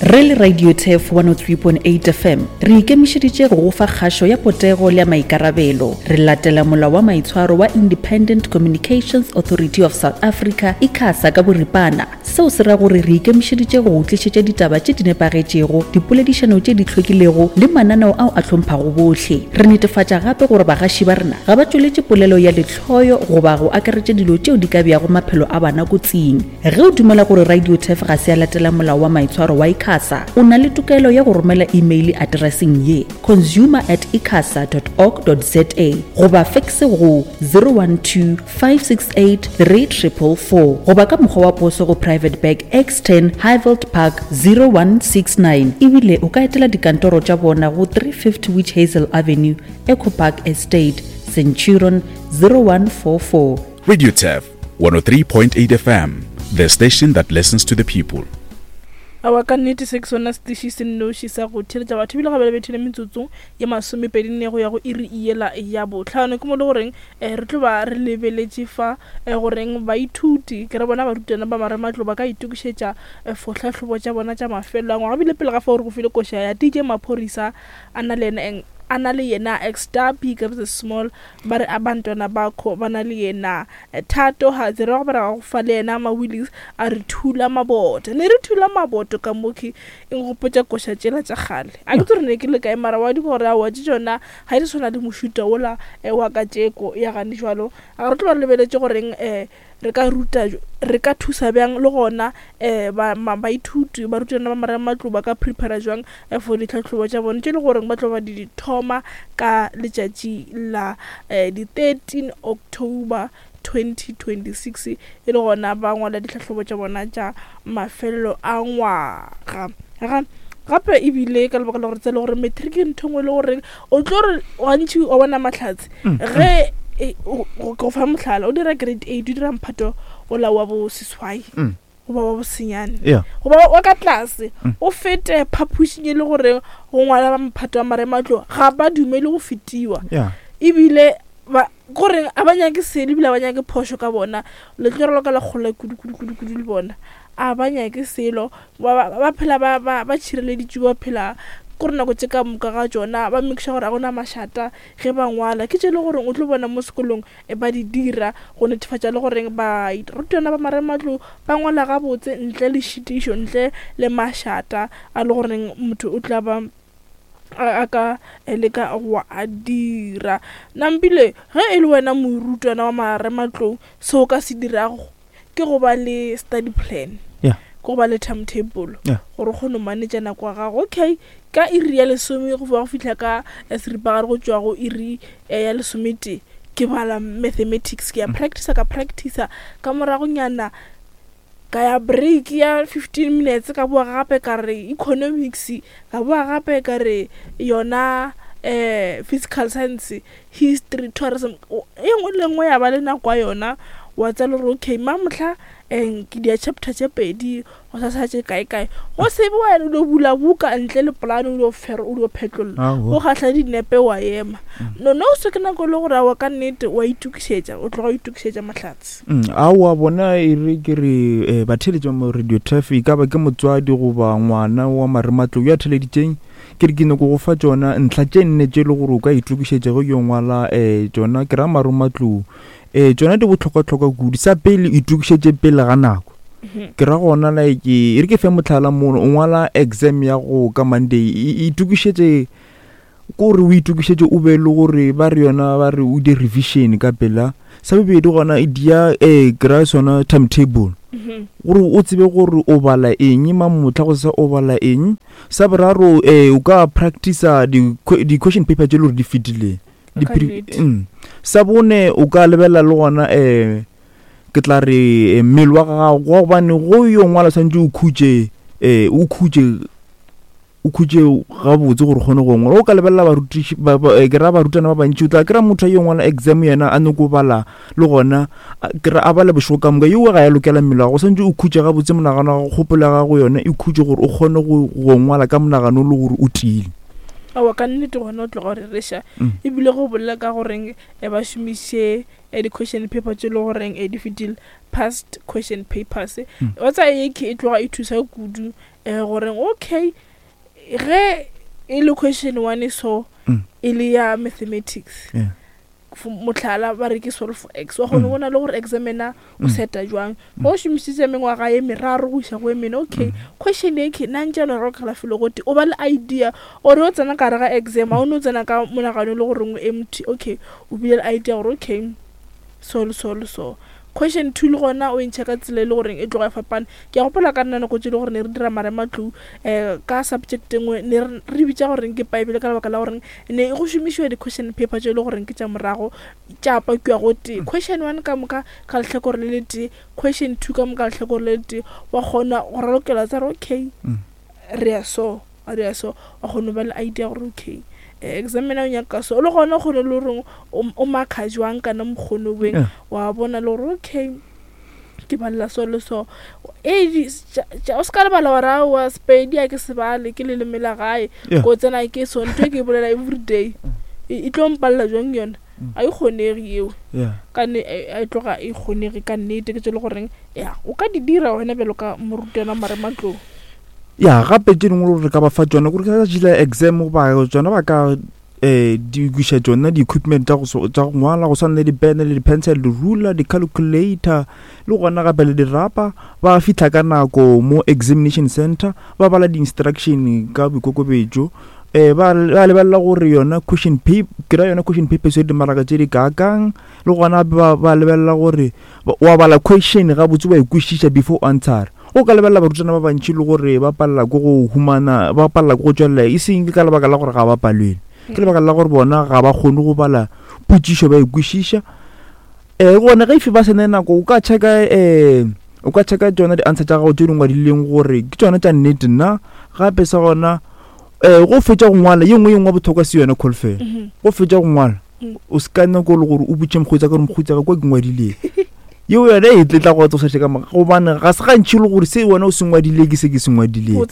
Re le Radio Turf 103.8 FM, re ikemišeditše go go fa kgašo ya potego le ya maikarabelo. Re latela molao wa maitshwaro wa Independent Communications Authority of South Africa, ICASA, ka boripana. Seo se ra gore re ikemišeditše go go tlišetša ditaba tše di nepagetšego, dipoledišano tše di hlwekilego le mananeo ao a hlomphago bohle. Re netefatša gape gore bagaši ba rena ga ba tšweletše polelo ya lehloyo goba go akaretša dilo tšeo di ka beago maphelo a bana kotsing. Ge o dumela gore Radio Turf ga se ya latela molao wa maitshwaro wa ICASA, o na le tokelo ya go romela imeile atereseng ye, consumer at icasa dot org dot za goba fekse go 012 568 3444 goba ka mokgwa wa poso go Private Bag X10 Highveld Park 0169 ebile o ka etela dikantoro tša bona go 350 Witch Hazel Avenue, Echo Park Estate, Centurion 0144. Radio Turf 103.8 FM, the station that listens to the people. Aowa, ka nnete se ke sona setiši se nnoši sa go theeletša batho ebile ga bjale bethile metsotso ye masomepedi nne go ya go iri yela ya bohlano. Ke mo le goreng eh, re tlo ba re lebeletše fa eh, goreng baithuti ke re bona barutwana ba marematlou ba ka itokišetša eh, for tlhahlobo tša bona tša mafelelo a ngwaga. Ebile pele ga fao re go file koša ya DJ Maphorisa a na le yena a na le yena Xtapi ka the small ba re abantwana bakho ba na le yena Thato ga tsere wa go bara go fa le yena Mawillies a re thula maboto ne re thula maboto ka mokhi e nkgopotša koša tšela tša kgale a ke tsore ne ke le kae mara wa di gore aowa tše tšona ga di tshwana le mošuta wola wa katšeko ya gane jwalo a re tlo ba re lebeletše goreng um re ka ruta re ka thusa bjang le gona um baithuti barutwana ba marematlou ba ka prepara jwang for ditlhahlobo tša bone tše le goreng ba tlo ba di thoma ka letšatši la um di-13 October 2026 e le gona ba ngwala ditlhahlobo tša bona tša mafelelo a ngwaga gape ebile ka lebaka la gore tsela gore matric ke ntho ngwe le gore o tlo re gantši wa bona mahlatse mm, ge mm. e, go fa mohlala o dira grade eight o dira mphato ola wa bo seswai mm. goba wa bosenyane goba wa ka tlase o fete phapošing e le gore go ngwala ba mphato wa marematlo ga ba dumele go fetiwa ebile gore a ba nyake selo ebile a ba nyake phošo ka bona le tlo raloka la kgole kudu kudu kudu kudu le bona a ba nyake selo ba phela ba tšhireleditšwe ba phela kore nako tše ka moka ga tšona ba make sure gore a gona mašata ge ba ngwala ke tše le goreng o tlo bona mo sekolong e ba di dira go netefatša le goreng barutwana ba marematlou ba ngwala gabotse ntle le šitišo ntle le mašata a le goreng motho o tla ba a ka leka go a dira. Nampile ge e le wena morutwana wa marematlou se o ka se dirago ke go ba le study plan yeah. ke go ba le timetable yeah. gore o kgone go manage nako ya gago okay ka iri ya lesome go go fihla ka eh, seripagare go tšwa go iri eh, ya lesometee ke bala mathematics ke ya mm. practice ka practice ka moragonyana Ka ya break ya 15 minutes ka boa gape ka re economics, ka boa gape ka re yona um physical science, history, tourism. E nngwe le nngwe ya ba le nako ya yona wa tseba le gore okay mamohla um ke dia chapter tše pedi gosasa tše kae kae. Go se be wa no bula buka ntle le polane o dio o dio phetlolla o gahla dinepe wa ema. No no se ke nako e le gore aowa ka nnete wa itokišetša o tloga o itokišetša mahlatse. Mm, aowa bona e re ke re eh, batheeletši ba mo radio turf e ka ba ke motswadi goba ngwana wa marematlou yo a theeleditšeng ke re ke nyako go fa tšona ntlha tše nne tše e le gore o ka itokišetša ge yo ngwala um tšona ke ra marematlou um tšona di bohlokwahlokwa kudu sa pele itokišetše pele ga nako mhm. ke ra gona like e re ke fe motlhala mono o ngwala exam ya go ka monday itokišetše Ko gore o itokišetše o be le gore ba re yona ba re o di revision ka pela. Sa bobedi gona e dia eh kry sona timetable. Mhm. Gore o tsebe gore o bala eng mamohla go sa o bala eng. Sa boraro eh o ka practice di di question paper tše le gore di fetileng. Mm. Sa bone o ka lebelela le gona eh ke tla re eh, mmele wa gago gobane go yo ngwala tshwanetse o khutše eh o khutše o khutše gabotse gore o kgone go ngwala o ka lebelela barutiši eh, ke ra barutwana ba bantši o tla kry-a motho a yo ngwala exam yena a nyako bala le gona ke ra a bala bošego ka moka yeo ga ya lokela mmele wa gago santse o khutše gabotse monagano wa gago kgopolo ya gago yone e khutše gore o kgone go ngwala ka monagano le gore o tiile aowa ka nnete gona o tloga o rereša mm. ebile go bolela ka goreng eh, ba šomiše eh, di-question paper tse e le goreng di fetile. Past question papers. Wa tsaya ye ke e tloga e thusa kudu um goreng okay ge e le question one so e le ya mathematics mohlala ba re ke solve x wa kgone bona le gore examiner o seta jwang o šomišitše mengwaga ye meraro go iša go ye mene. Okay, question e ke nna ntše le rokela felo gote o ba le idea ore o tsena ka gare ga exam a o ne o tsena ka monagano le goreng o empty. Okay, o bile le idea gore okay so le so le so. Question 2 le gona o e ntšha ka tsela e le goreng e tloga e fapana. Ke a gopola ka nna nako tse e le gore ne re dira marematlou um ka subject e nngwe ne re bitša goreng ke paebele ka lebaka la goreng ne go šomišiwa di-question paper tše e le goreng ke tša morago tša pakiwa go tee. Question 1 ka moka ka lehlakore le letee, question 2 ka moka lehlakore le letee, wa kgona go ralokela tsa re okay re ya so re ya so, wa kgona go ba le idea gore okay examiner o nyaka so, le gona o kgone le goreng o marka jwang kana mokgono beng, wa bona le gore okay ke balela so le so. O se ka lebala gore aowa Sepedi a ke se bale ke leleme la gae, ko tsena ke so ntho e ke e bolela everyday e tlo mpalela jwang yona, a e kgonege eo ka a e tloga e kgonege ka nnete. Ke tse le goreng ya o ka di dira wena bjalo ka morutwana marematlou. Ya gape tše dingwe gore re ka ba fa tšona gore ka tšila exam goba tšona ba ka di kwiša tšona di-equipment tša go ngwala go swana le dipene le di-pencil, di-ruler, di-calculator le gona gape le dirapa. Ba fitlha ka nako mo examination center, ba bala di-instruction ka boikokobetšo, ba lebelela gore yona question paper, ke ra yona question paper se dimaraka tše di kaakang, le gona ba lebelela gore wa bala question gabotse wa e kwešiša before answer. O ka lebelela barutwana ba bantši le gore ba palela ke go humana, ba palela ke go tšwelela, e seng ke ka lebaka la gore ga ba palelwe, ke lebaka la gore bona ga ba kgone go bala potšišo ba e kwešiša. Gona ge ife ba sene nako o ka checka o ka checka tšona di-answer tša gago tše di ngwadileng gore ke tšona tša nnete na. Gape sa gona go fetša go ngwala ye nngwe ye nngwe bohlokwa se yona kholofelo, go fetša go ngwala o se ka nako le gore o botše mokgweetsi ka gore mokgweetsi ka kwa ke ngwadileng yeo yona e tletla go tsosa ka moka, gobane ga se gantši le gore se wena o se ngwadile ke se ke se ngwadileng,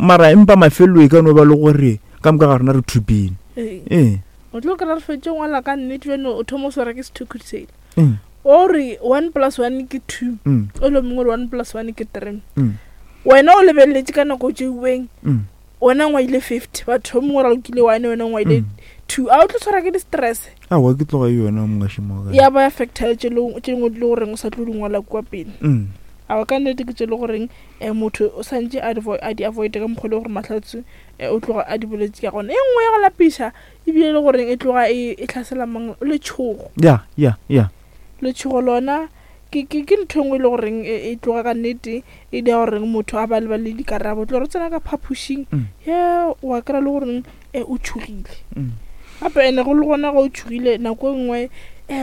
mara empa mafelelo e ka no ba le gore ka moka ga rena re thupile. Ee, o tlo kry-a re fetše ngwala ka nnete bjane o thoma o swara ke sethukhutshele o re 1 plus 1 ke 2, o le mongwe re 1 plus 1 ke 3, wena o lebeletse ka nako tšeuweng wena ngwaile 50, batho mongwe ra lokile 1, wena ngwaile 2, a o tlo tshwara ke di-stress? Aowa ke tloga yona mongašimo ya ba affecta tše dingwe di le goreng o sa tlo di ngwala kua pele. Aowa ka nnete ke tše le goreng motho o santše a di avoide ka mokgwa le gore mahlatse o tloga a di boletse ka gona. E nngwe ya go lapiša ebile le goreng e tloga e tlhasela mang letšhogo. Ya ya ya letšhogo lona ke ntho engwe e le goreng e tloga ka nnete e dira goreng motho a ba le dikarabo. Tlo re tsena ka phapošing ye wa kry-a le goreng o tšhogile gape, ene go le gona ga o tšhogile nako e nngwe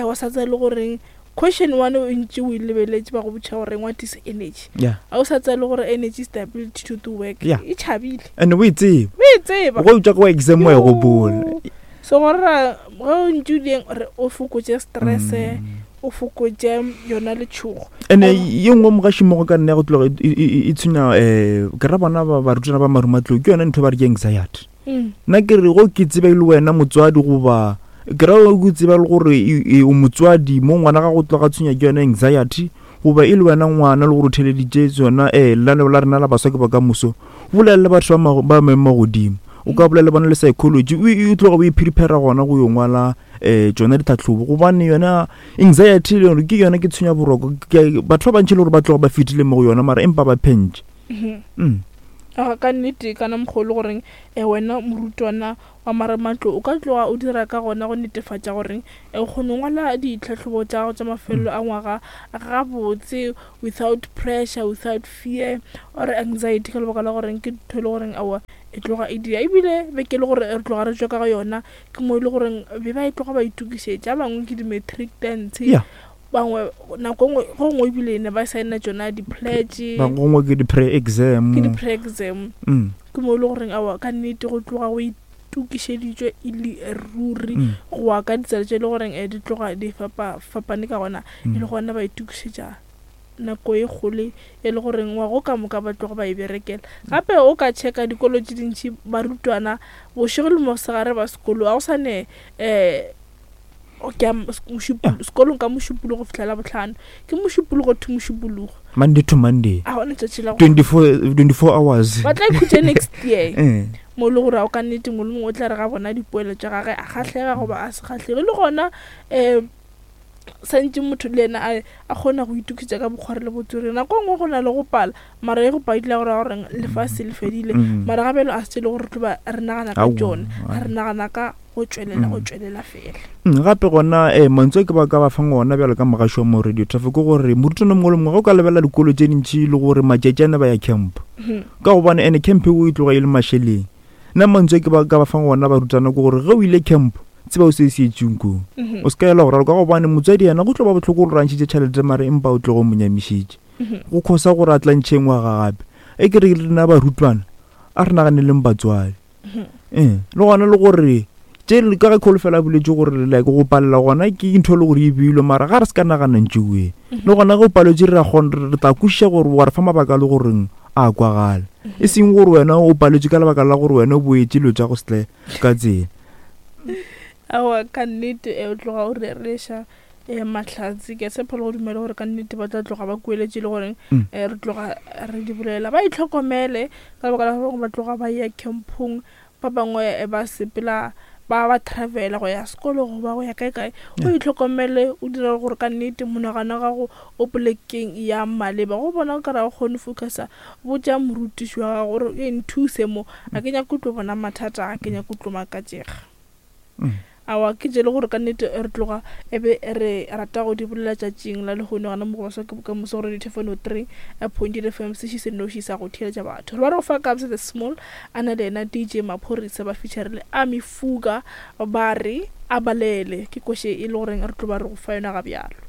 wa sa tsaya le goreng question 1 o ntše o e lebeletše ba go botša goreng what is energy, a o sa tsaya le gore energy is the ability to do work, e tšhabile and o e tseba, o e tseba go utswa go exam wa e gopola. So gore ra ge o ntše o dieng re o fokotše stress, o fokotše yona letšhogo. Ene ye nngwe mogašimogo ka nna ya go tloga e tshwenya ke ra bona barutwana ba marumatlou ke yona ntho ba re ke anxiety. Nna ke re go ke tseba e le wena motswadi goba ke ra o tseba le gore o motswadi mo ngwana ga go tloga tshwenya ke yona anxiety, goba e le wena ngwana le gore o theleditše tsona lenaneo la rena la baswa ke bokamoso, bolela le batho ba maemo a godimo, o ka bolela le bona le psychology, o tloga o iprepare gona go yo ngwala tsona ditlhatlhobo, gobane yona anxiety le yone ke yona ke tshwenya boroko. Batho ba bantši le gore ba tloga ba fetile mo go yona mara empa ba phentše. Ka nnete kana mokgwa o le goreng wena morutwana wa marematlo o ka tloga o dira ka gona go netefatša goreng o kgone go ngwala ditlhahlobo tša gago tša mafelelo a ngwaga gabotse without pressure, without fear or anxiety, ka lebaka la goreng ke ntho e le goreng aowa e tloga e dira. Ebile beke e le gore re tloga re tšwa ka ga yona ke mo e le goreng be ba e tloga ba itokišetša, ba bangwe ke di-matric dance, bangwe nako nngwe go nngwe ebile ne ba signa tšona di-pledge, ba gongwe ke di-pre-exam, ke di-pre-exam. Ke mo e le goreng aowa ka nnete go tloga go itokišeditšwe e le ruri go wa ka ditsela tše e le goreng di tloga di fapane ka gona, e le gona ba itokišetša nako e kgolo e le goreng ngwago ka moka ba tloga ba e berekela. Gape o ka checka dikolo tše dintši barutwana bošego le mosegare ba sekolo, ga go sane Ke ya sekolong ka Mošupologo go fihla Labohlano. Ke Mošupologo to Mošupologo. Monday to Monday. A gona tšatši la 24, 24 hours. Ba tla ikhutša next year. Eh. Mo e le gore o ka nnete mongwe le mongwe o tla re ga bona dipoelo tša gage a kgahlega goba a se kgahlege. Le gona um santše motho le yena a a kgona go itokišetša ka bokgwari le botswerere. Nako e nngwe go na le go pala, mara e go padile go raya gore lefase le fedile. Mm. Mara ga bjalo a se le gore re tlo ba re nagana ka tšone, re nagana ka go tšwelela, go mm. tšwelela fela. Mm, gape gona eh, mantswe ke ba ka ba fang ona bjalo ka mogaši wa mo radio traffic ke gore morutwana mongwe le mongwe ge o ka lebelela dikolo tše dintši le gore matšatši a ne ba ya camp mm-hmm. ka gobane ene camp eo e tloga e le mašeleng nna mantswe ke ba ka ba fang ona barutwana ke gore ge o ile camp tseba o se se etseng koo mhm. o se ka ela go raloka gobane motswadi yena go tlo ba bohloko gore rantšhitše tšhelete mare empa o tlogo mo nyamišitše mhm. go khosa gore a tla ntšhe ngwaga gape e ke re rena barutwana a re naganeleng batswadi mhm. ee le gona le gore tše ka ge kholofelo a boletse gore like go palela gona ke ntho e le gore e beilwe mara ga re se ka nagana ntšeoe le gona ge o paletse re re tla kwešiša gore wa re fa mabaka a le goreng a kwagala e seng gore wena o paletswe ka lebaka la gore wena o boetše dilo tša go setle ka tsela. Aowa, ka nnete o tloga o rereša um mahlatse. Ke a tshepa le go dumela gore ka nnete ba tla tloga ba kueletše le goreng um re tloga re di bolela. Ba itlhokomele ka lebaka la gore ba tloga ba ya campong, ba bangwe ba sepela ba ba travela go ya sekolo goba go ya kae kae. O itlhokomele o dire gore ka nnete monagano wa gago o polekeng ya maleba. Go bona o ka re ga o kgone focusa, botša morutiši wa gago gore e nthuse mo, a ke nyake go tlo bona mathata, a ke nyake go tlo makatšega. Aowa, ke tše le gore ka nnete re tloga e be re rata go di bolela tšatšing la lehono gana mo go Baswa ke Bokamoso go Radio Thefano 3.8 FM, seši se nnoši sa go theeletša batho. Re ba re go fa Kabza the Small a na le yena DJ Maphorisa ba feature le Ami Fuga ba re a balele, ke koše e le goreng re tlo ba re go fa yona ga bjalo.